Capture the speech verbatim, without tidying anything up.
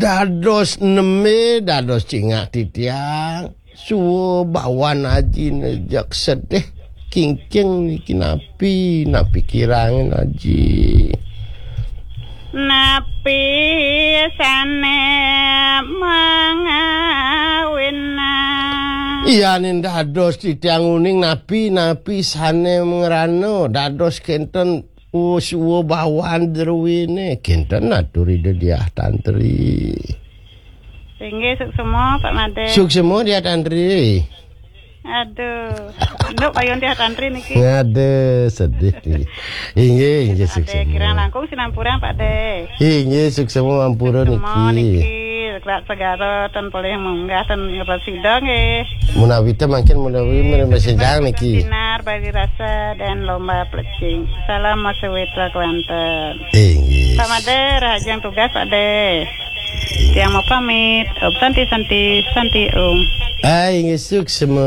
Dados neme, dados cingak titiang. Suwa bawan ajine jak sedih. Kingking niki napi, napi kirangin aji. Napi sane mangawina. Iyanin dados titiang uning napi, napi sane ngrana dados kenten, oh, suwa bawan druwine. Kenten atur Ida Diah Tantri. Inggih, suksema, Pak Made. Suksema Diah Tantri. Aduh. Nduk payun Diah Tantri niki. Aduh, sedih niki. Inggih, inggih, Ade suksema. Kirang langkung sinampurang, Pak De. Inggih, suksema ampura. Suksema niki. Niki, Krak Segara ten polih munggah ten ngeresida nggih. Menawi te mangkin menawi menawi sedang niki. Sinar bagi rasa dan lomba plecing. Salam Mas Witra Kelanten. Inggih. Pak Made, rahajeng tugas, Pak De. Tiang mau pamit. Om Santi, Santi, Santi Om. Ah, inggih, suksema.